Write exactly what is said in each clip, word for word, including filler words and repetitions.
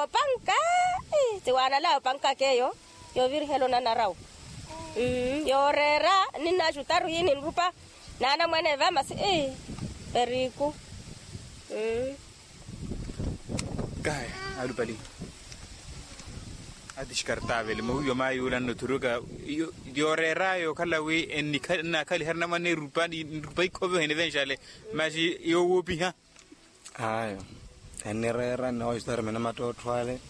Opanka. Tiwaanala opankaka eyo yoovirihela onanarawu. Yooreera ninnaxutaru yi ninrupa naanamwane va masi ii. Periku. Kahi alupali. Ati xikartaavele mowiiwa maayuula nnothuruka. Yooreeraya okhala wi ennaakhaliha rinamwane erupa nrupa ikhoviha enivenxale. Masi yoowoopiha. Ayo. Ennireera nnihoxitari minamattottho ale.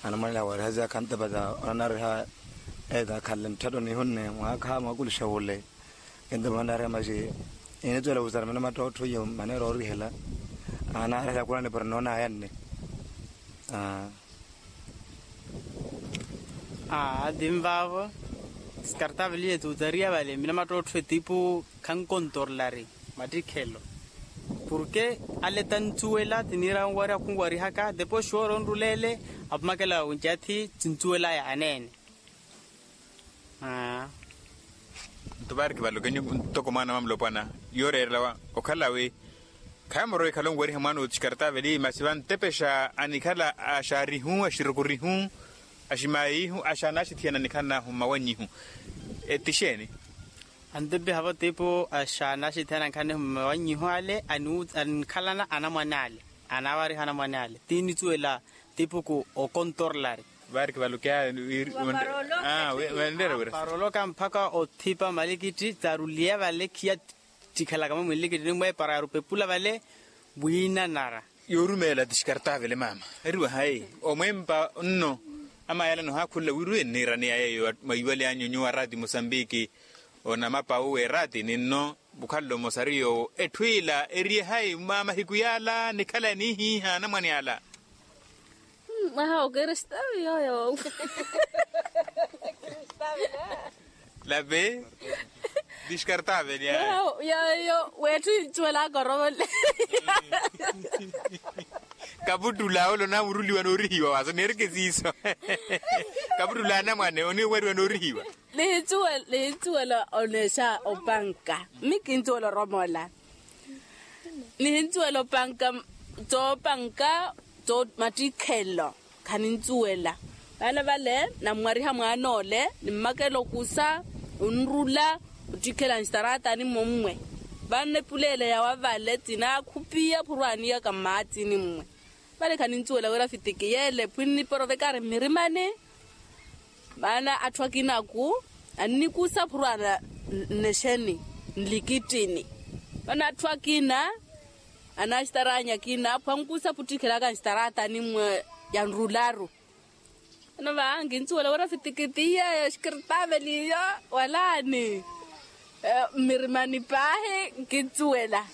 Anamwanela wariha ziyakha ntepata onanariha. Eeta akhanle ntthetta onihunne mwaakha mwakulixa wule. Kintumanariha maxi. Initwela wuzara minamattottho iyo maneera orihela. Anarihela khulani para noonayanne. Aa. Aa tinvaavo. Sikartaaveliye tuutariya vale minamattottho etipu khankontorlari mattikhelo. Porke ale tanthuwela tiniira onwariha khunwarihaka depois xoora onruleele. Apumakela oncathi tinthuwelaya aneene. Aa. Nto vaari kivalokenyu ntoko mwaana wa mulopwana yooreerelawa okhala wi khaamorowa ekhala onwariha mwaana otixikartaaveli masi vantepexa anikhala axaarihu axirukurihu aximaayihu axaanaxithiyana anikhala naahu mmawannyihu. Etixeeni? Antepexa vatipo axaanaxithiyana anikhala naahu mmawannyihu ale anikhalana anamwane ale. Anaawariha anamwane ale tinithuwela tipuku okontorlari. Vaari kivalokeya. Wira. Paroloka mpakha othipa malikitti taaruliya vale khiya ttikhelaka mwe mwilikitini mwe para yaarupepula vale. Wiinanara. Yoorumeela ti xikartaavele maama. Eriwa hayi omwempa nno. Amayala nohaakhulula wira wi enniiraniya yeeyo mwa iwali anyu nyuwo araati musambiki. Onamapa uwe eraati ninno. Mukhalelo mosari yoowo etthu ila eriye hayi mwa mahiku yaala nikhala enihiiha anamwane ala. Mwaha okiristaavi yooyo. Lape. Diskartaaveli ayo. Yooyo weetthu incuwelaka orovole. Kaputtula ole onamuruliwa noorihiwa waaso neereke siiso. Kaputtula anamwane oniweriwa noorihiwa. Nihincuwela oneexa opanka. Mmi kincuwela oromola. Nihincuwela opanka. Toopanka mattikhelo. Khanincuwela. Vana vale nammwariha mwaan'ole nimmakela okusa onrula ottikhela nxitaratani mmommwe. Vana epuleela yawa vale tinaakhupiya phurwaaniyaka mmaatsini mmwe. Vale khanincuwela wira fitiki yeele phwinniporovekari mmirimani. Maana atthu akinaku annikusa phurwaana nnexeni nlikittini. Maana atthu akina anaaxitaranya akina phwankusa phuttikhelaka nxitaratani mmwe yanrularu. Ano va nkincuwela wira fitiki tiyeyo xikartaaveli iyo walaani. Mmirimani paahi nkincuwela.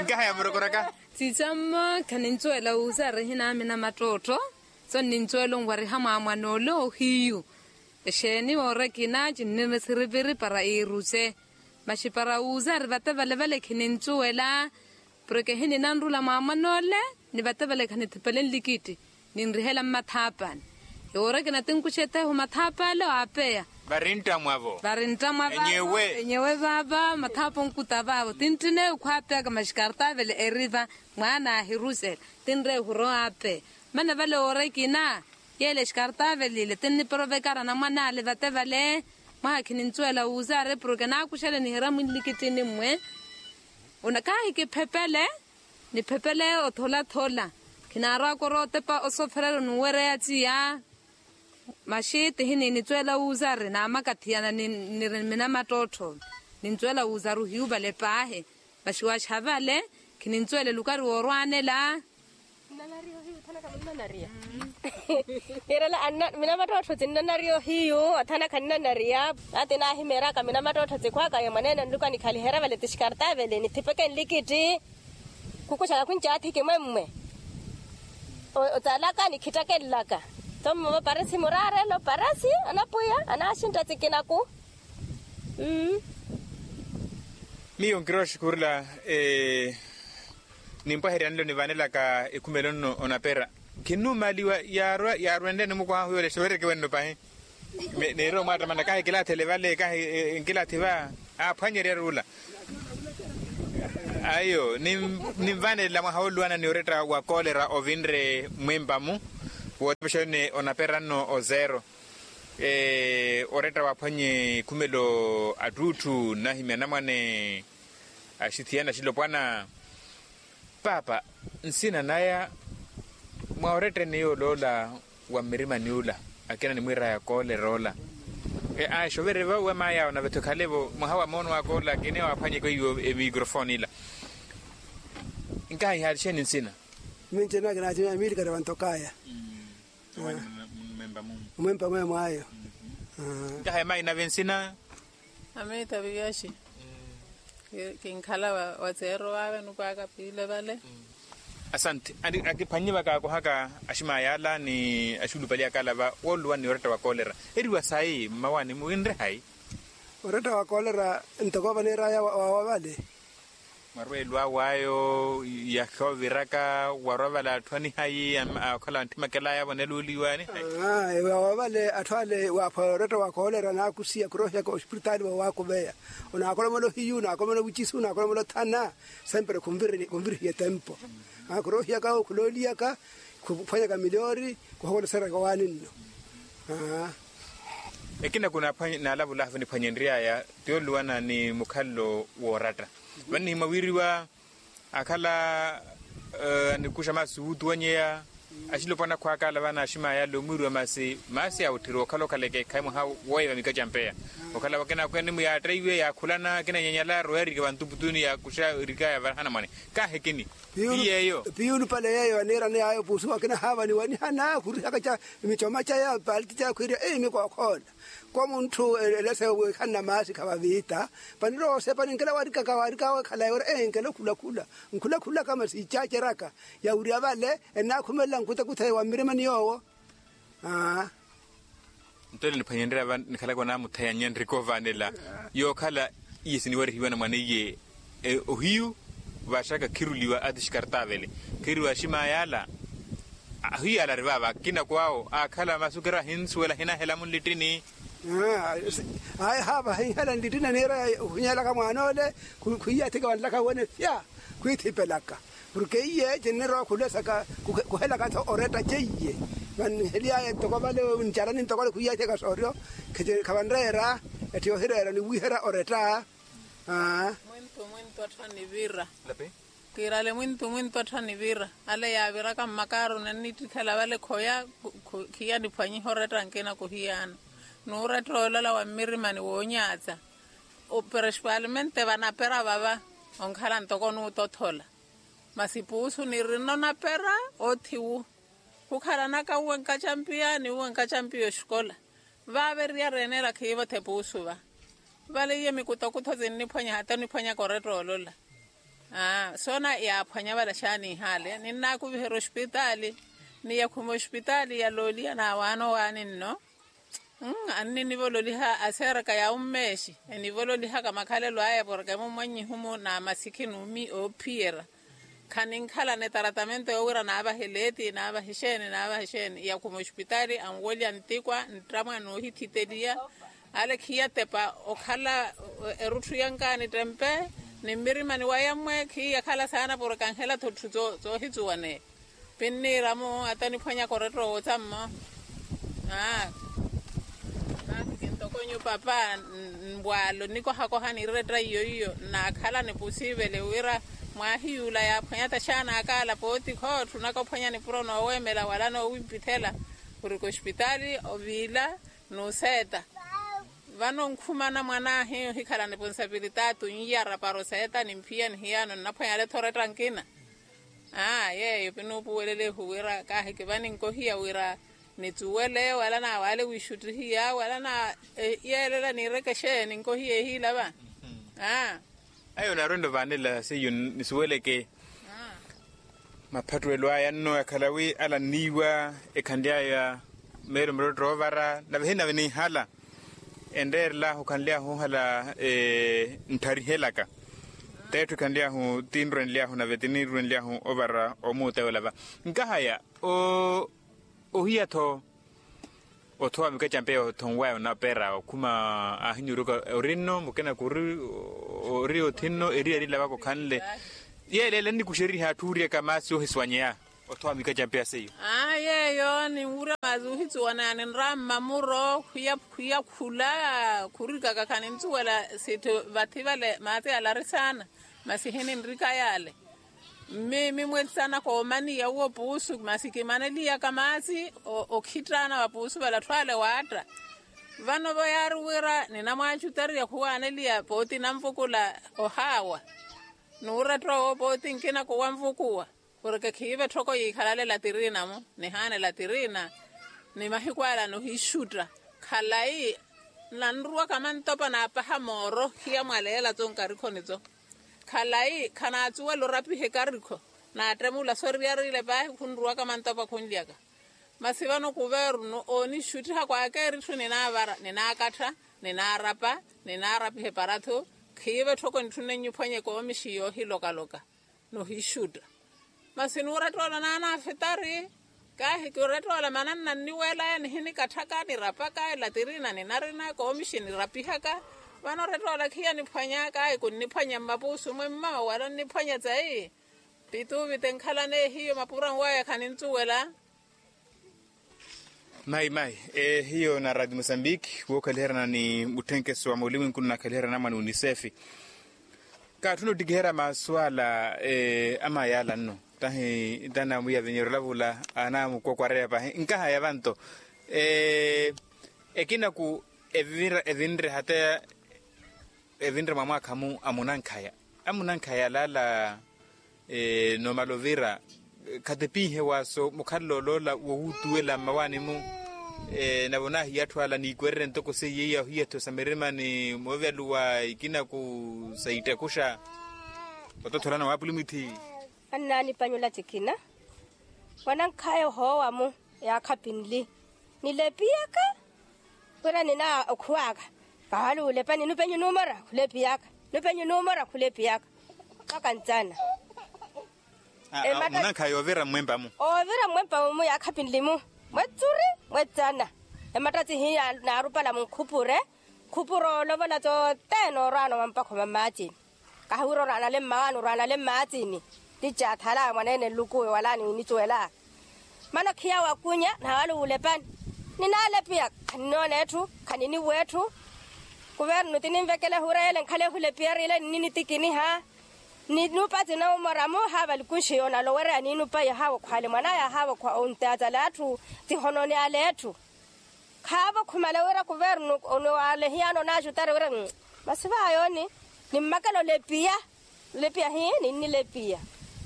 Nkaha yamurokoraka. Sicammo khanincuwela wuuza arihina amina mattottho. So nnincuwela onwariha mwaamwan'ole ohiyu. Exeeni woora ekina cinnirina esiriviri para iiruce. Maxi para wuuza ari vate vale vale khininthuwela. Porke ehi ninanrula mwaamwan'ole ni vate vale khanithipele nlikitti. Ninrihela mmathaapani. Yoora ekina tinkuxa etheehu mathaapale waapeya. Vari nttamwavo. Vari nttamwavo. Enyewe vaava mathaapa onkuta vaavo tinttine ekhwaapeyaka maxi kartaavele eriva. Mwaana ahirusela tinreehu rowa apeya. Mane vale woora ekina. Yeele xikartaavele ile tinniporovekara anamwane ale vate vale. Mwaha khininthuwela wuuza ari porke naakuxele nihira mwinlikittini mmwe. Kahi kiphepele. Niphepele otholathola. Khinaarwaka orowa otepa osoofererya onuwereya tiya. Maxi tihi niinithuwela wuuza ari naamakathiyana niri minamattottho. Ninthuwela wuuza ari ohiyuvale paahi. Maxi waaxa vale. Khininthuwela elukari woorwanela. Nnanariya ohiyu othana khamunnanariya. Kiirela anna minamattottho tinnanariya ohiyu othana khanninanariya. Ati naahimeeraka minamattottho tikhwaka yo mwaneene nluku anikhaliherya vale ti xikartaavele nithipeke nlikitti. Khukuxaka khuncathi kimwemmwe. Otalaka nikhittakelelaka. Tho mmovo parisi muraarelo parisi anapwiya anaaxintta tikinaku. Miyo nkirooxi khurula. Nimpwaherya nlo nivanelaka ekhumelo nno onapera. Khinnumaliwa yaarwa yaarwenle nimukwaha huyo lexe weereke wenno pahi. Neeri omwaattamana kahi kilathele vale kahi nkilathi va. Aaphwanyerya ruula. Ayo ninvanelela mwaha oluwana ni oretta wa koolera ovinre mwempa-mu. Wooxepaxani onaperanno ozero oretta waaphwanye khumelo attuutthu nnahimya anamwane. Axithiyana axilopwana paapa nsina naya mwa oretteni yoola ola wa mmirimani ula akina animwiiraya koolera ola. Aa exovereve we maay'awe nave-tho ekhale-vo mwaha wa moono aka ola akina waaphwanyeke weiwo emicrophone ila. Nkaha ihaali xeeni nsina? Minci enakina ati miilikari vantokaya. Omwempa mweemwaayo. Nkaha emayi nave nsina? Amiita viyaxi. Kinkhala watseero vave nukwaaka piile vale. Asante. Akiphwannye vakaakohaka aximaya ala ni axulupali aka ala va wooluwani oretta wa koolera. Eriwa sayi mmawaani-mu winre hayi? Oretta wa koolera ntoko vaneeraya wawa vale. Mwarweelo aw'ayo yakhooviraka warwa vale atthu anihayi okhala wantthimekelaaya voneluuliwa anihayi. Wawa vale atthu ale waaphwaya oretta wa koolera naakusiya khuroohiyaka ospiritaali voowakuveya. Onaakolomela ohiyu onaakolomela ovicisu onaakolomela othana. Sempre khunvirihiya etempo. Khuroohiyaka okhulooliyaka khuphwanyaka miliyoori. Khuhokoleseryaka owaani nno. Ekina kunaalavulahu nipwanyenry'aya ti oluwana ni mukhalelo wooratta. Vano nihimwa wiiriwa akhala anikuxa maasi wuutuwanyeya. Axilopwana akhwaaka ala vano aximaya ala omwiiriwa maasi maasi awutthiri okhala okhaleke ekhayi mwaha wooyeva mikaca mpeya. Okhala vakina akweene-mu yaatteiwe yaakhulana akina nyanyala arowa erike vantuputuni yaakuxa erikaya varaha anamwane. Kaahekini. Piyuulupale yeeyo aniirani yaayo puusu akina haavaniwa nihana khurihaka ca micoma caya paaliti caya khwiiriya eyi mikookhola. Koomunthu elese wiikhanna maasi khavaviita. Panirowa osepa ninkela warikaka warikaka wekhalaye wira enkela okhulakhula. Nkhulakhulaka masi icaceraka yawirya vale ennaakhumelela nkutakutha wa mmirimani yoowo. Aa. Nto ela niphwanyenrya va nikhalaka onaamuthayanya nriko vaanela yookhala iye siniwarihiwa na mwaneiye ohiyu. Vaaxaka khiruliwa ati xikartavele khiriwa aximaya ala. Ahiyu ala ari vaava akina kwaawo aakhala masukira ahinsuwela ahinahela munlittini. Ayi haava ahinhela nlittini aniira ohinyelaka mwaan'ole. Khwiiyathika vanlaka wene fya khwiithipelaka. Porke iye cinnirowa khulesaka kuhelaka-tho oretta ceiye. Vannihely'aya ntoko vale ncarani ntoko ale khwiiyathika sooryo. Khavanreera etti yohireera niwiiherya oretta. Mwintu mwintu atthu anivira. Kiirale mwintu mwintu atthu anivira ale yaaviraka mmakaaruni annittikhela vale khoya. Khiya niphwanyiha oretta nkina kuhiyaana. N'uretta olola wa mmirimani woonyaatsa. Principalmente vanapera vava onkhala ntoko onuutothola. Masi puusu nirina onapera oothiwu. Khukhalanaka uwenkaca mpiya ni uwenkaca mpiya oxikola. Vaava eriyari eneela khiivothe puusu va. Vale iye mikutakutho sinniphwanya hata oniphwanyaka oretta olola. Aa soona yaaphwanya vale xaaniihaale ninnaakuviherya ospitaali. Ni yakhuma ospitaali yalooliya naawaana owaani nno. Anni nivololiha aserka ya ummeexi. Enivololihaka makhalelo aya porke mummwannyihumu na masikhi n'umi oophiyerya. Khaninkhalana etaratamento yoowira naavahe leeti naavahe exeeni naavahe exeeni yakhuma ospitaali anwolya ntikwa nttamwa noohithiteliya. Ale khiyatepa okhala erutthu yanka nittempe. Ni mmirimani waya mmwe khiyakhala saana porke anhela-tho tthu. Zoohitsuwaneya. Pinniira-mo ata niphwanyaka oretta owootha-mmo. Aa. Kintoko nyu papa mbwaalo nikohakoha ni retta iyo iyo nnaakhala nipusiivele wira mwaahiyuula yaaphwanya-tho axaana aka ala pooti khootthunaka ophwanya nipuro nooweemela wala noowimpithela. Khurika ospitaali oviila n'useeta. Vano nkhumana mwan'ahi ohikhala niponsapilitaati onyiyara para oseeta nimphiya nihiyaano nnaphwanyale-tho oretta nkina. Aa yeeyo pinuupuwelelehu wira kaahiki vani nkohiya wira nitsuwele wala naawaale wiixuttihiya wala na yeelela niireke exeeni nkohiya ehiila va. Aa. Ayo naarwento vaanela seiyo nisuweleke. Maphattuwelo aya nno yakhala wi ala nniiwa ekhanly'aya meelo murottoro oovara nave hinnave niihala. Enreerel'ahu khanly'ahu ohala nttarihelaka. T'etthu ekhanly'ahu ti nrwenly'ahu nave ti nirwenly'ahu ovara omuutewela va. Nkahaya ohiya-tho othowa mikaca mpeya othonwaya onapera okhuma aahinyuuruka ori nno mukina kuri ori othi nno eriyari lavaka okhanle. Yeeleela ennikuxeriha atthu ooryaka maasi ohisuwanyeya. Othowa mikaca mpeya seiyo. Aa yeeyo ninwurya maazi ohitsuwa naani nrammamuro khwiya khula khurikaka khaninsuwela sitthu vathi vale maazi yale ari saana. Masi hininrika yale mmi mimwetsana koomaniya uwo puusu masi kimaneliyaka maazi okhittaana wa puusu vale atthu ale waatta. Vano vo yaari wira ninamwaacutariya khuwaaneliya pooti nanvukula ohaawa. Nuurettowa wo pooti nkina kuwanvukuwa porke khiive tthoko yiikhalale latirina-mo nihaane latirina. Ni mahiku ala nohiixutta khalayi nanruwaka mantopa naapaha mooro khiya mwaleela-tso nkarikhoni-tso. Khalayi khanaatsuwela orapiha ekarikho naattemmula soriyariile paahi khunruwaka mantopa khunlyaka. Masi vano kuvernu oonixuttiha kwaakeeritthu ninaavara ninaakattha ninaarapa ninaarapiha eparathu. Khiive tthoko nitthunne nyiphwanye koomixi yoohilokaloka nohixutta. Masi nuurettoola naanaafitari kaahi kirettoola mananna nniweelaya nihinikatthaka nirapaka elatirina ninarina koomixi nirapihaka. Vano orettoola khiya niphwanya kaahi kunniphwanya mmapuusu mwemma wala onniphwanya tsayi. Pituuvite nkhalana ehiyo mapura nwaya khaninsuwela. Mayi mayi ehiyo na radio mosambiki wookhaliherana ni mutthenkeso wa mulimwinku nnaakhaliherana mwa ni unisefi. Kaatthuna ottikiherya maasu ala. Amayi ala nno tahi tanamwiya vinyeryo olavula anamukokwareya pahi nkahaya vanto. Ekinaku evinre hata evinre mwa mwaakha-mu amunankhaya amunankhaya alaala. Noomala ovira khatepinhe waaso mukhalelo oloola wowuutuwela mmawaani-mu. Nave onaahiya atthu ala niikwererye ntoko seiye iya ohiya etthu sa mirima ni mooveluwa ikinaku sa ittakuxa. Otothorana waapulumithi. Annaanipanyula tikina wanankhaya ohoowa-mu. Yaakhapi nli nilepiyaka wira nina okhuwaka. Kahaluulepani nupenyu numora khulepiyaka nupenyu numora khulepiyaka. Mpaka ntsana. Munankhaya yoovira mmwempa-mu. Oovira mmwempa-mu yaakhapi nli-mu mwetsuri mwetsana. Ematta tsihiya naarupala munkhupure khupure oolovola tsothene orwaana omampakho mamaacini. Kahi wira oraanale mmawaani oraanale mmaatsini. Ticaathala mwaneene nlukuwe wala niinitsuwela. Mana okhiya wakunya nawaluwa olepani. Ninaalepiya khaninoona etthu khaniniwa etthu. Kuvernu tininvekela ehura yele nkhale ehulepiyari ile nininitikiniha. Ninupa tinaumora-mu haava likunxi yoona alowereya niinupa yahaawa okhwale mwanaya ahaawa okhwa ontaatala atthu. Tihonooni ale etthu. Khaavo khumale wira kuvernu oniwaale hiyano onaaxutari wira. Masi vaayooni nimmakela olepiya. Olepiya hii ninnilepiya.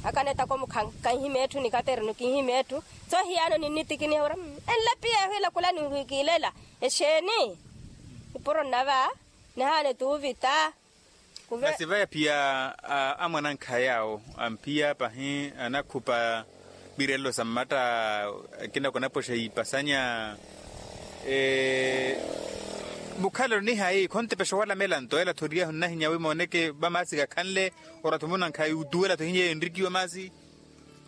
Akanetako mukhankanhime etthu nikaternu kinhime etthu. Tso hiyano ninnitikiniha wira enlepiya ehwiila khula ninhwiikilela. Exeeni nipuro nnava nihaana etuuvita. Masi vaya phiya amwanankhaya awo amphiya pahi anakhupa. Virelelo sa mmatta akina konapoxa yiipasanya. Mukhalelo nihayi khontepexa owalamela nto ela thoriyahu nnahinya wi mooneke vamaasi kakhanle. Oratthu munankhaya yuutuwela tho hinyeiyo enrikiwa maasi.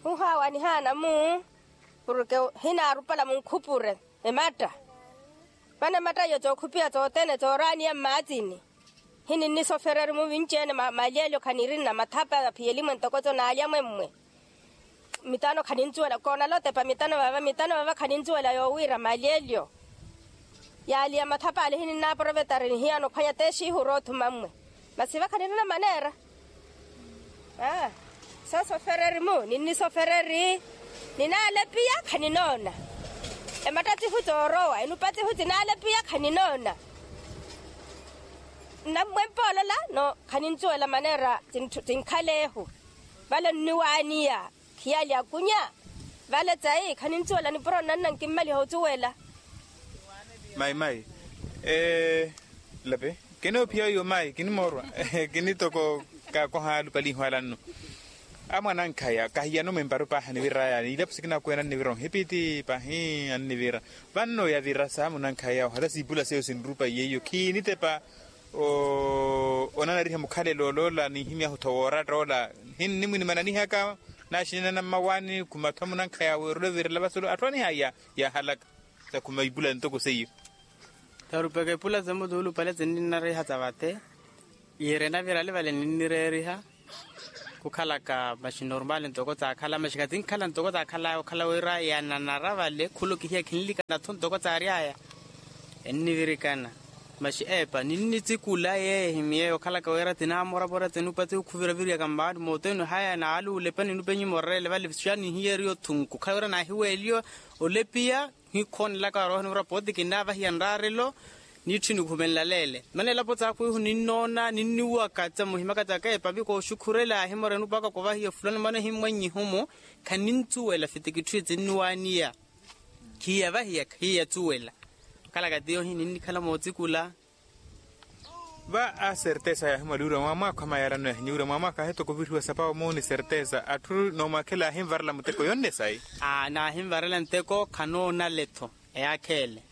Ohaawa nihaana-mu porke hinaarupala munkhupure. Ematta vano ematta iyo tsookhupiha tsothene tsooraniya mmaatsini. Hininnisofereri muvinci-ene mali elyo khanirinna mathapa aphiyeli-mwe ntoko tso naalya-mwe mmwe. Mitano khaninsuwela koonala otepa mitano vava mitano vava khaninsuwela yoowiira mali elyo. Yaali ya mathapa ale hininnaaporovetari nihiyana ophwanya teexiihu oroothuma mmwe. Masi vakha nirina maneera. Soosofereri-mu ninnisofereri. Ninaalepiya khaninoona. Ematta tsihu tsoorowa enupa tsihu tsinaalepiya khaninoona. Nnammwempa olola no khaninsuwela maneera. Tinkhaleehu vale nniwaaniya. Khiyali akunya vale tsayi khaninsuwela nipuro nnanna nkimmaliha ocuwela. Mayi mayi. Lape kinoophiya oyo mayi kinimoorwa. Kinitoko kakoha alupaliho ala nno. Amwanankhaya kahiyano mwemparu paahi aniviraya niilapo sikina akuwena annivira onhipiti paahi annivira. Vanno yavira sa munankhaya ohala siipula seiyo sinrupa yeiyo khiinitepa. Onanariha mukhalelo oloola ninhimyahu-tho wooratta ola. Hinnimwinimananihaka naaxinenana mmawaani khumatho munankhaya weerula ovirela vasulu atthu anihaya. Yaahalaka sakhuma ipula ntoko seiyo. Tarupeke ipula semutuulupale sinninnariha sa vate. Yiire navirale vale ninnireeriha. Khukhalaka maxi normal ntoko tsakhala maxi khatsinkhala ntoko tsakhalaya okhala wira yananara vale khula okihiya khinlikana-tho ntoko tsaryaya. Ennivirikana maxi epa ninnitsikula yeehi miyeyo okhalaka wira tinamoravora tsinupatsi khuviraviriyaka mmaani mooteni haya naaluula epa ninupenyi morerele vale xa nihiyeriyo thunku khala wira naahiweeliyo olepiya. Hikhonelaka waroha nivura pooti kinnaavahiya nraarelo. Niitthu nikhumenlaleele mana elapo tsakhwihu ninnoona ninniwaka tsa muhimaka tsaka epapi kooxukhurela ahimorenu mpakha kovahiya fulani mana himmwannyihumu. Khanintsuwela fiti kitthu etinniwaaniya. Khiyavahiya khiyatsuwela. Khalaka tiyo hininnikhala mootsikula. Va a sertesa yaahimwaliwira mwaamwaakho amayarano yahinyiwira mwaamwaakho ahetoko ovirihiwa sapawa muuni sertesa atthu noomwakhela ahinvarela muteko yonne sayi. Aa naahinvarela nteko khanoonale-tho. Eyaakheele.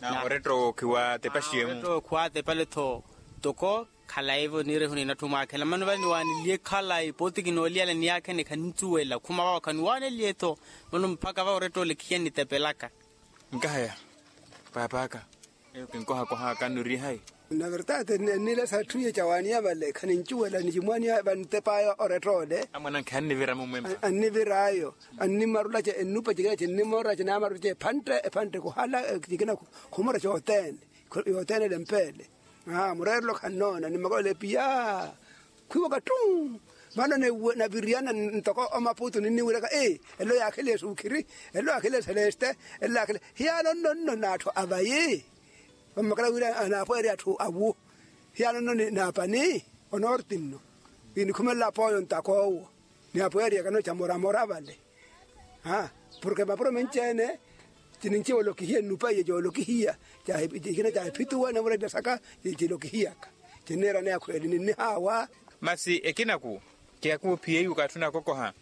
Na oretta owo khiwaatepaxiye-mu oretta owo khiwaatepaletho. Toko khalayi-vo niirehu ninatthu mwaakhela mano vale niwaaniliye khalayi pooti kinooliyala niyaakhene khanintsuwela khuma vawo khaniwaaneliye-tho. Mano mpakha vawo oretta ole khiyannitepelaka. Nkahaya paap'aka. Eyo kinkohakohaka nnuurihayi. Na vertade ennilesa etthu iye cawaaniya vale khanincuwela nicimwaaniya vantep'aya oretta ole. Amwanankhe anniviramo mwempa. Annivir'ayo. Annimarulace ennupacikelace ennimorace naamarulace ephantte ephantte khuhala. Cikina khumura cothene yothene elempeele. Mureerelo khannoona nimmakolela epiya. Khwiiwaka ttu. Vano naviriyana ntoko omaputu ninniwiraka elo yaakheliye suukhiri. Elo yaakheliye seleste. Elo yaakheliye hiyaano nno nno n'atthu avayi. Vammakela wira anaapweerya atthu awu. Hiyaano nno n'apani onorti nno. Inikhumelela apooyo ntaka owo. Ni apweeriyaka nno camoramora vale. Porke mapuro menci-ene. Cininciwela okihiya nnupa iye coolokihiya. Cikina caahiphituwa namurelya saka. Cilokihiyaka cinniirana yakhweeli ninnihaawa. Masi ekinaku kihakuwa ophiyeiwaka atthu nakokoha.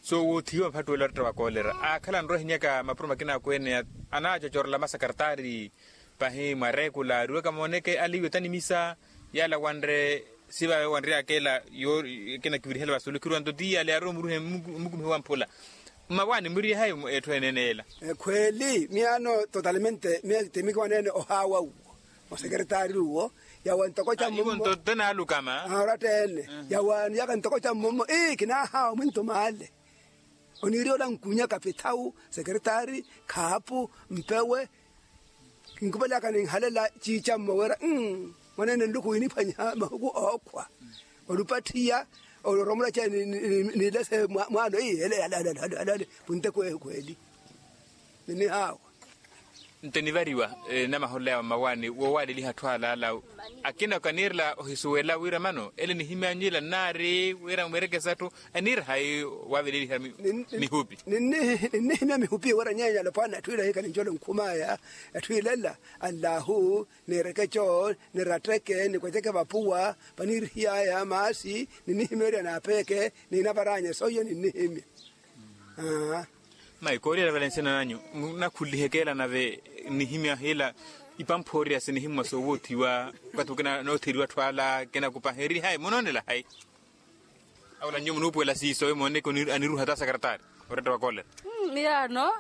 Soowoothiwa mphattuwela oretta wa koolera aakhala anrowa ehinyaka mapuro makinaku ene. Anaacocorela masakartaari pahi mwareekula ariwaka mooneke aliiwe tanimisa. Yaala wanre sivaawe wanryaka ela. Ekina kivirihela vasuulu khiruwa nto ti yaala yaarowa omuruhe mmukumihe wa mphula. Mmawaani muriye hayi etthu eneene yeela? Ekhweeli miyaano totalmente miya timikiwaneene ohaawa uwo. Osekeretaari uwo yawa ntoko ca mmommo. Nto tenaalukama oratta ene yawaaniyaka ntoko ca mmommo ii kinaahaawa mwinto maale. Oniiriya ola nkunyaka pithawu sekeretaari khaapu mpewe. Kinkupelaka ninhalela ciicammo wira mwaneene nluku winiphwanyiha mahuku ookhwa. Olupathiya oloromolace nilese mwaano ii ele ale punteku eyo khweeli. Ninihaawa. Nto enivariwa enamaholola yawe mmawaani woowaaleliha atthu alaala. Akina kaniirela ohisuwela wira mano ele nihimyanyu ila nnaari wira mwerekesa atthu aniira hayi? Waaveleliha mihupi. Ninnihimya mihupi wira nyeenya alopwana atthu ila hikhala nincola onkhumaya. Atthu ilela allahu nirekeco niratteke nikweceke vapuwa. Paniirihiyaya maasi ninnihimeerya naapeeke. Niinavaranya soiyo ninnihimya. Mayi kooliyela vale nsina nanyu munakhuliheke ela nave nihimya hila. Ipamphoorya sinihimmwa soowoothiwa. Okathi ukina nootheriwa atthu ala kinakupaha eri hayi munoonela hayi? Awola nyuwo munuupuwela siiso emooneke aniruha ta sakarataari. Oretta wa koolera. Miyaano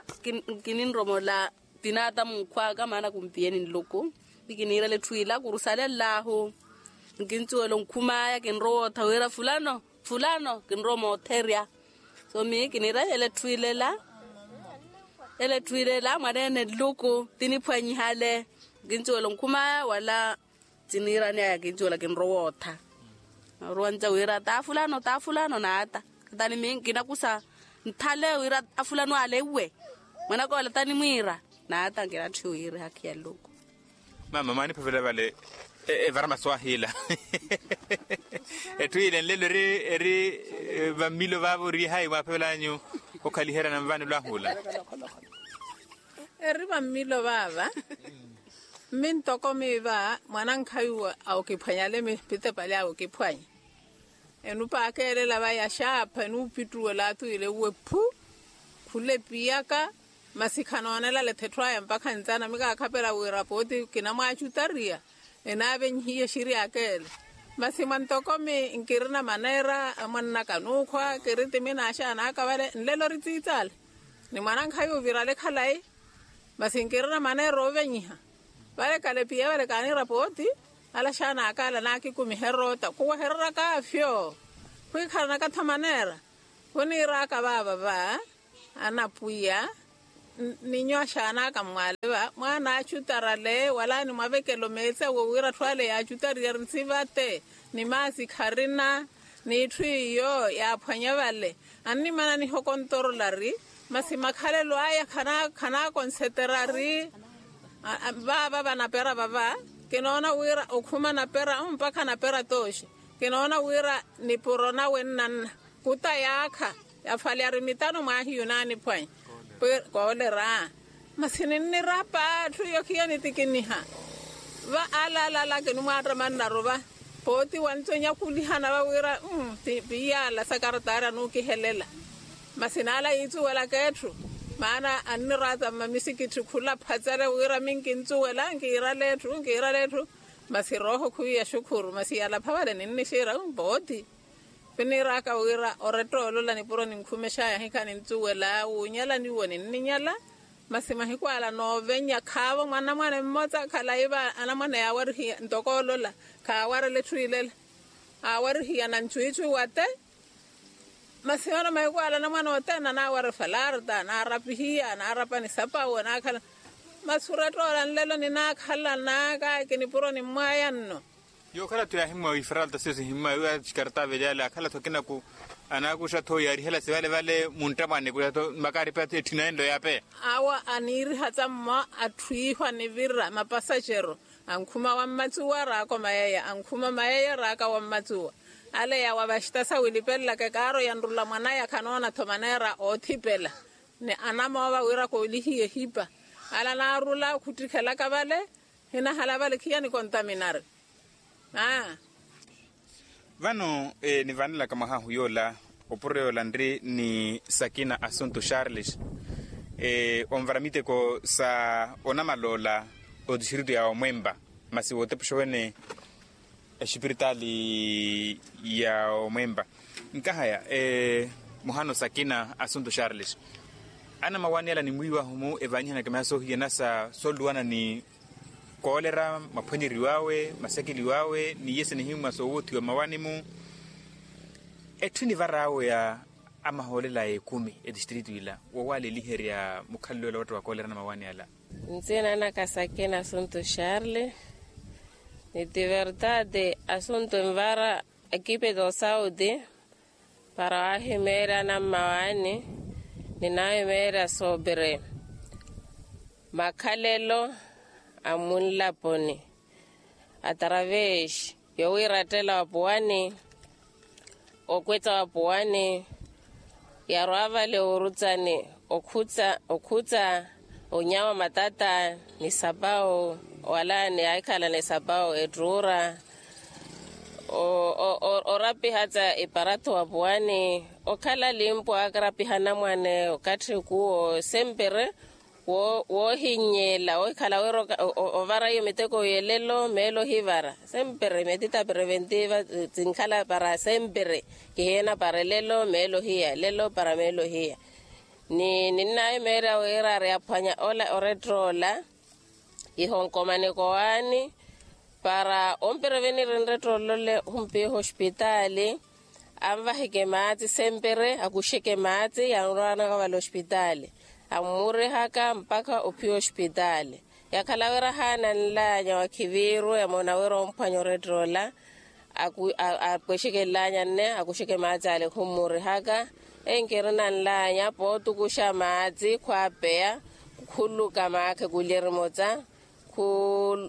kininromola tinaata munkhw'aka maana kumpiyeni nluku. Ni kiniirela etthu ila kurusalellahu. Nkincuwela onkhum'aya kinrowa ottha wira fulano fulano kinrowa omootherya. So miyo kiniira ele etthu ilela ele etthu ilela mwaneene nluku tiniphwanyihale. Nkincuwela onkhum'aya wala tiniirani aya kincuwela kinrowa ottha. Naruwanca wira taa fulano taa fulano naata. Katani miyo nkinakusa nthale wira afulano ale iwe mwanaka ole tanimwiira. Naata nkinatthiwa owiirihakhiya nluku. Mama mwaaniphavela vale evaramaso ahiila. Etthu ile nlelo eri eri vammilo vaavo ori hayi mwaaphavel'anyu okhaliherya na nvaani olwahula? Eri vammilo vaava. Mmi ntoko miiva mwanankhayi okiphwanya ale mipitepali awe okiphwanya. Enupa akeelela vaya xaapha enuupittuwela atuwile uwe phu. Khula epiyaka masi khanoonelale etthu aya mpakha ntsana mikaakhapela wira pooti kinamwaacutariya. Enaavenyihiye exiri akeele. Masi mwa ntokomi nkirina maneera amwannaka nuukhwa kiri timi naaxaan'aka vale nlelo ori tsiitsale. Ni mwanankhayi ovirale khalayi. Masi nkirina maneera oovenyiha. Vale kalepiya vale kaaniira pooti. Ala axaan'aka ala naakikumiherya otta khuwehereraka afyo. Khwikhalanaka tho maneera khuniiraka vaava va anapwiya. Ninyo axaanaka mmwaale va mwaana achutarale wala animwavekela omeetsi awe wira atthu ale yaachutariye ari nsivate ni maasi kharina n'itthu iyo yaaphwanya vale. Annimana nihokontorolari masi makhalelo aya khanaakonseterari. Vaava vanapera vava kinoona wira okhuma anapera mpakha anapera tooxi. Kinoona wira nipuro nawe nnanna kuta yaakha yafwalyari mitano mwahiyu naaniphwanya koolera. Masi ninnirapa atthu iyo khiya nitikiniha va ala ala ala kinimwaattamani naruva pooti wanto nyakulihana va wira piiyala sakarataari anuukihelela. Masi naala yiitsuwelaka etthu maana anniraata mmamisikitthi khula phatsale wira minkintsuwela nkiirala etthu nkiirala etthu. Masi rooho khuiya xukhuru masi yalapha vale ninnixira pooti. Khuniiraka wira oretta olola nipuro ninkhumexaya hikha nintsuwela wuunyala niwo ninninyala. Masi mahiku ala noovenya khaavo mwanamwane mmotsa khalayi va anamwane yaawarihiya ntoko olola khaawarela etthu ilela. Aawarihiya na ntwiitwi wate. Masi yoona mahiku ala anamwane othene anaawara efalarta anaarapihiya anaarapa ni sapawu anaakhala. Masi oretta ola nlelo ninaakhalanaka kinipuro nimmwaya nno. Yookhala-tho yaahimwa ifaralta siyo sihimmwa iwe achikarata avelyaale akhala-tho akinaku. Anaakuxa-tho yaarihela sivale vale muntta mwaneku ya-tho makaaripa etthina enlo yaapeya. Awo aniiriha tsammo atthu iho anivira mapasaxero ankhuma wammatsuwa raaka omayeya ankhuma omayeya raaka wammatsuwa. Ale yawa vaxita sawilipelelaka ekaaro yanrula mwanaya khanoona-tho maneera oothipela ni anamoova wira koolihiye ehipa. Ale anaarula khuttikhelaka vale hinahala vale khiya nikontaminari. Aa. Vano nivanelaka mwaha ahu yoola opuro yoola nri ni sakina assunto charles onvara miteko sa onamaloola otistritu ya omwempa masi wootepuxa wene exipiritaali ya omwempa. Nkahaya muhano sakina assunto charles anamawani ala nimwiiwahu-mu evanyihanaka miha soohiyana sa solluwana ni koolera maphwanyeriw'awe masekeliw'awe ni iye sinihimwa soowuthiwa mmawani-mu. Etthu enivar'awe ya amahoolela a ekumi etistritu ila woowaaleeliherya mukhalelo ela watta wa koolera na mawani ala. Ntsina naka sakina assunto charles. Ni ti vertade assunto envara ekipe do sauti para waahimeerya na mmawani ni naahimeerya sobre makhalelo a munlaponi atravesi yowiirattela wapuwani okwetsa wapuwani yarwa vale orutsani okhutsa okhutsa onyawa matata ni sapawu wala ni ahikhala ni sapawu ettuura orapiha tsa iparato wapuwani okhala limpo akarapiha anamwane okathi kuwo sempere woohinnyela ohikhala wira ovara iyo miteko yelelo meelo ohivara sempere metita preventiva tinkhala para sempere kihiyena para elelo meelo ohiya elelo para meelo ohiya. Ni ninnahimeerya wira ari aphwanya ola orettola ihonkomani kowaani para ompira venirinre ttoolole ohumpiha ospitaali anvaheke maatsi sempere akuxeke maatsi yanrwanaka vale ospitaali ammurihaka mpakha ophiya ospitaali. Yakhala wira haana nlaanya wakhiviiru yamona wira omphwanya orettoola apwexeke nlaanya nne akuxeke maatsi ale khummurihaka enkirina nlaanya pootukuxa maatsi khwaapeya khuluka maakhe kulya erimotsa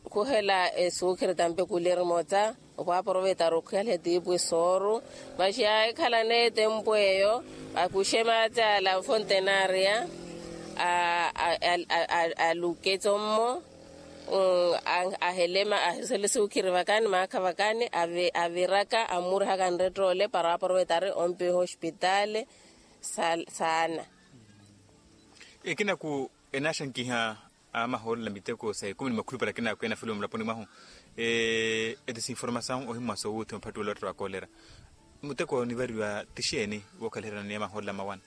khuhela esuukhiri tampe kulya erimotsa opwaaporovetaru okhihala etiipwi sooru. Maxi yaahikhala n'etempu eyo akuxe maatsi ala nfontenaria aluketso mmo ahele esuukhiri vakani maakha vakani aviraka ammurihaka nrettoole para aaporovetaru ompiha ospitaali. Saana. Ekinaku enaaxankiha amahoolela miteko sa ekumi ni makhulupale akinaku enafeliwa mulaponi mwahu eti sinformasawu ohimmwa soowuthi maphattuwelo atta wa koolera. Muteko onivariwa ti xeeni wookhaliherya ni amahoolela mawana?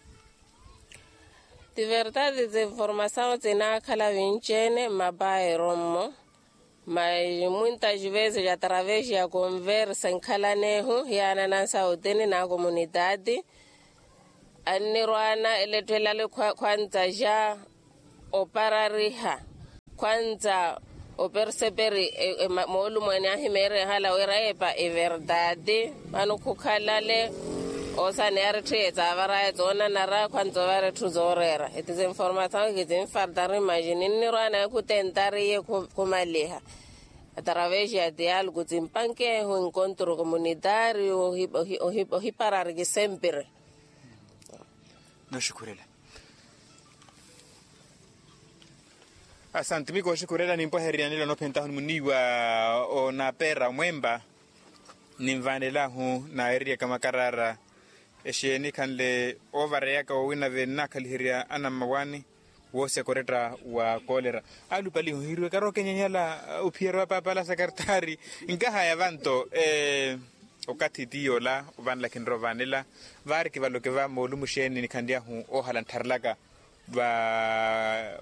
Ti vertade ti sinformasawu tinaakhala vinci-ene mmapaero mmo. Mas muitas vezes através ya conversa enkhalana ehu hiyaanana sautini na comunidade, annirwaana elettelali khwantsa ja oparariha, khwantsa operseperi moolumweene ahimeerehala wira epa everdade. Vano khukhalale osaneya ari etthu yetsavaraya tsoonanara khwantsa ovara etthu zooreera. Eti zinformasawe kizinfartari imagine nnirwaana ekhu tentariye khumaliha através ya diálogo tsimpankehu encontro comunitario. Ohiparariki sempre. Noxukhurela. Asanti miko oxukhurela nimpwahereryanela onophentahu ni muniiwa onapera omwempa. Ninvanelahu naeriyaka makarara exeeni khanle ovareyaka wowina vennakhaliherya anammawaani. Woosi akoretta wa koolera. Alupalihu hiriwekara okenyanyala ophiyerya wa paapala sakartaari. Nkahaya vanto okathi tiyola ovanla khinroovanela. Vaari kivaloke va moolumu xeeni nikhanlyahu oohala nttharelaka va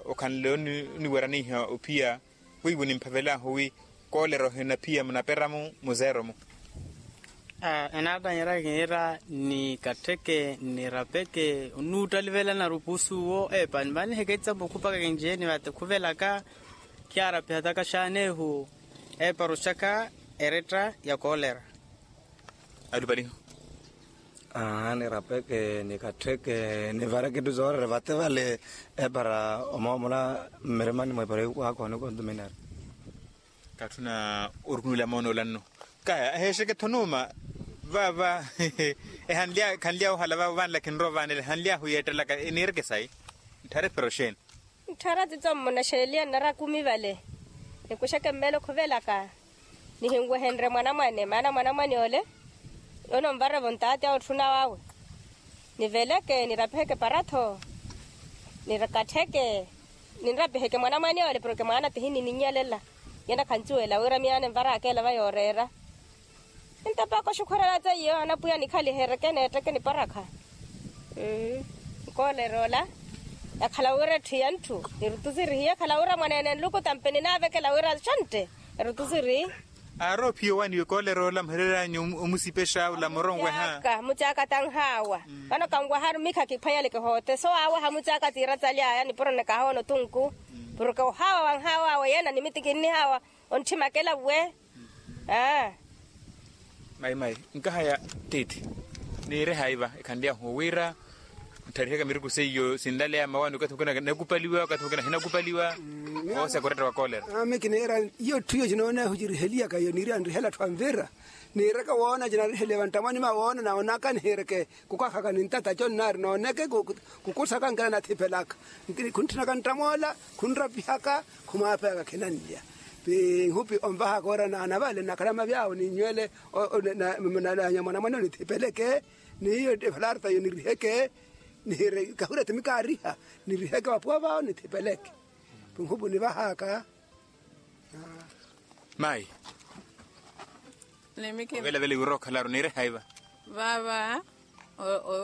okhanle oniweraniha ophiya. Wiiwo nimphavelahu wi koolera ohinaphiya munaperamu muzeeromu. Enaattanyerya kinira ni kattheke ni rapeke onuuttalivelana rupusu wo epa nimaniheke etsambo khupaka kinci eni vate khuvelaka. Khiyaarapiha taka xaanehu epa roxaka eretta ya koolera. Alupaliho. Aa ni rapeke ni kattheke ni vareke etthu zoorere vate vale. Epara omoomola mmirimani mwa epara iwaakho ni kontuminari. Katthuna orukunula moona olanno. Kaya eheexeke-tho nuuma. Vaava ehanlya khanlya ohala vaavo vanla khinroovanela ehanlyahu yeettelaka eniireke sayi. Ntthare epara oxeeni? Ntthara tsitsommona xeeliya nnara kumi vale. Nikuxeke mmeelo khuvelaka nihinwehenrye mwanamwane maana mwanamwane ole. Ononvarevo ntaati awe otthuna wawe. Niveleke nirapiheke para-tho. Nikattheke ninrapiheke mwanamwane ole porke mwaana tihinininnyelela. Yena khancuwela wira miyaana envaraka ela va yooreera. Entapaka oxukhurela tse iyo anapwiya nikhalihereke neetteke niparakha. Nkoolerya ola yakhala wira etthu ya ntthu nirutusirihi yakhala wira mwaneene nluku tampe ninaavekela wira xontte. Erutusirihi. Aari ophiya owaniwe koolerya ola muhereryanyu omusipexa ola muronweha. Hamucaaka tanhaawa. Vano kanwaharu mikha kiphwanyaleke hoote so awe hamucaaka tiiratsali aya nipuro nikahoona otunku. Porke ohaawa wanhaawa awe yena nimiti kinnihaawa. Ontthimakela we. Aa. Mayi mayi nkahaya tiithi niire haiva ekhanly'ahu wira ntharihaka miruku seiyo sinlaleya mawaani okathi mukina nakupaliwa okathi mukina ahinakupaliwa. Oosi akoretta wa koolera. Ami kiniira iyo etthu iyo cinooneehu ciriheliyaka iyo niiriya nrihela atthu anvira. Niiraka woona cinariheliye vanttamwani mawoona nawoonaka nihiireke. Kukakhaka nintata co nnaari nooneke kukusaka nkela nathipelaka. Khuntthunaka nttamoola khunrapihaka khumwaapeyaka khinanlya. Pi nhupi onvahaka ora naana vale nnakhala mavi awo ninnywele. Nanya mwanamwane onithipeleke niyo evalarta yo niriheke. Nihire kahurya ti mikaariha niriheke vapuwa vawo nithipeleke. Pi nhupi onivahaka. Mayi. Ovelavela iwira okhalaru niire haiva. Vaava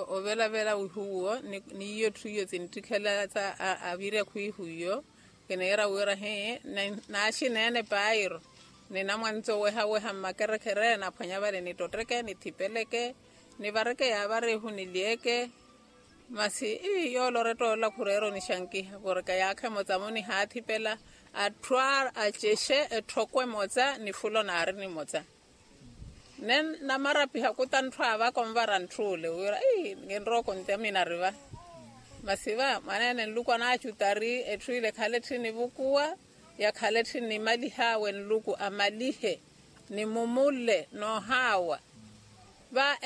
ovelavela wihuwo. N'iyo etthu iyo sinttikhelela sa avirya khwiihu iyo. Kiniira wira hi naaxineene pairo. Ninamwanitsi owehaweha mmakerekhere naphwanya vale nittotteke nithipeleke. Nivareke yaavarihu nilyeeke. Masi ii yooloretta ola khureera onixankiha porke yaakha emotsa-mo nihaathipela. Atthu acexe etthoko emotsa nifula onaari nimotsa. Nne namarapiha kuta ntthu aavaka onvara ntthuule wira ii kinrowa okontamina riva. Masi va mwaneene nluku anaacuta ari etthu ile ekhale etthi nivukuwa. Yakhale etthi nimaliha awe nluku amalihe nimumule noohaawa. Va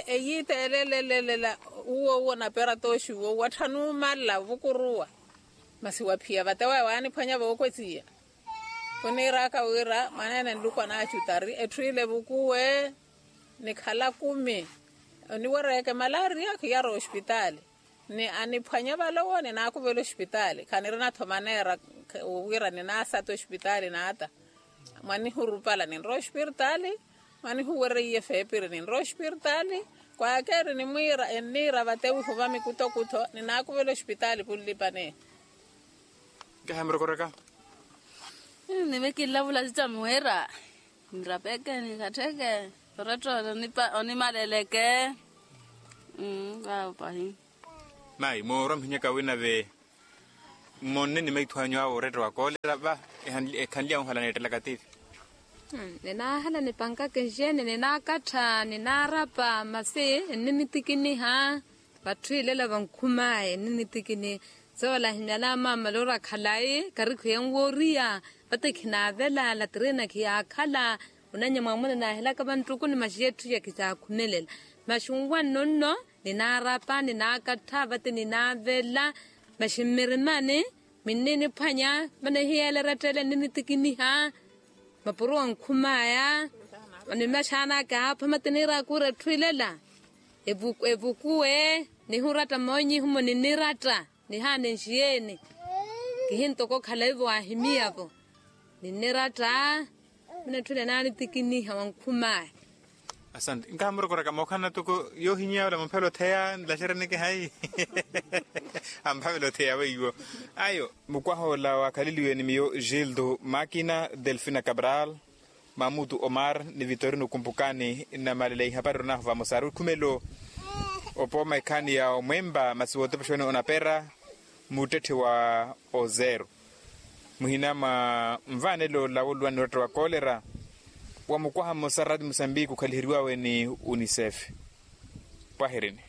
eyiita elelelelela uwo uwo napera tooxi uwo watthanu omala ovukuruwa. Masi waphiya vate waya waaniphwanya vookwetiya. Khuniiraka wira mwaneene nluku anaacuta ari etthu ile evukuwe. Nikhala kumi oniwereyeke malaria khiyara ospitaali. Ni aniphwanya vale owo ninaakuvela ospitaali khanirina-tho maneera. Wira ninaasata ospitaali naata. Mwanihurupala ninrowa ospirtaali. Mwanihuwereiye feepiri ninrowa ospirtaali. Kwaakeeri nimwiira enniira vate wihuva mikutokutho ninaakuvela ospitaali punlipaneya. Nkaha murokoraka. Nimikilavula sitamuwira. Nirapeke nikattheke. Oretta onimaleleke. Vavo pahi. Mayi moorwa muhinyaka wina ve. Mmonne ni maithu anyu awo oretta wa koolera va. Ekhanlya onhala neettelaka tivi. Ninaahala nipankaka enxeeni ninaakattha ninaarapa masi enninitikiniha. Vatthu ilela vankhumaya enninitikiniha. Soola ahimyala amaamala ori akhalayi karikhu yenwooriya. Vate khinaavela latirina khiyaakhala. Onanya mwaamuna naahelaka vanttukuni maxi yetthu ya khithaakhunelela. Maxi nwanno nno ninaarapa ninaakattha vate ninaavela. Maxi mmirimani minniniphwanya. Mane hiyeela erettele nninitikiniha. Mapuro wa nkhumaya. Ni maxaana akaapha mate niiraaka ori etthu ilela evukuwe. Nihuratta moonyihumo niniratta. Nihaana enxiyeeni. Kihintoko okhala ivo waahimiyavo. Ninniratta. Mune etthu ile naanitikiniha wa nkhumaya. Asante nkaha murokoraka mookhalana toko yoohinyiya ola mumphela otheya nlaxereneke hayi. Amphavela otheya weiwo. Ayo mukwaha ola waakhaleliwe ni miyo gildo makina delfina cabral, mamutu omar ni vitorino kumpukani nnamalele ihapari onaahu vamosa ari okhumelo. Opooma ekhaani ya omwempa masi wootepexewani onapera. Muttetthe wa ozero muhina mwa nvaanelo ola woluwani oretta wa kolera. Wa mukwaha mmosa rati musambiki okhaliheriwawe ni unicef. Pwahirini.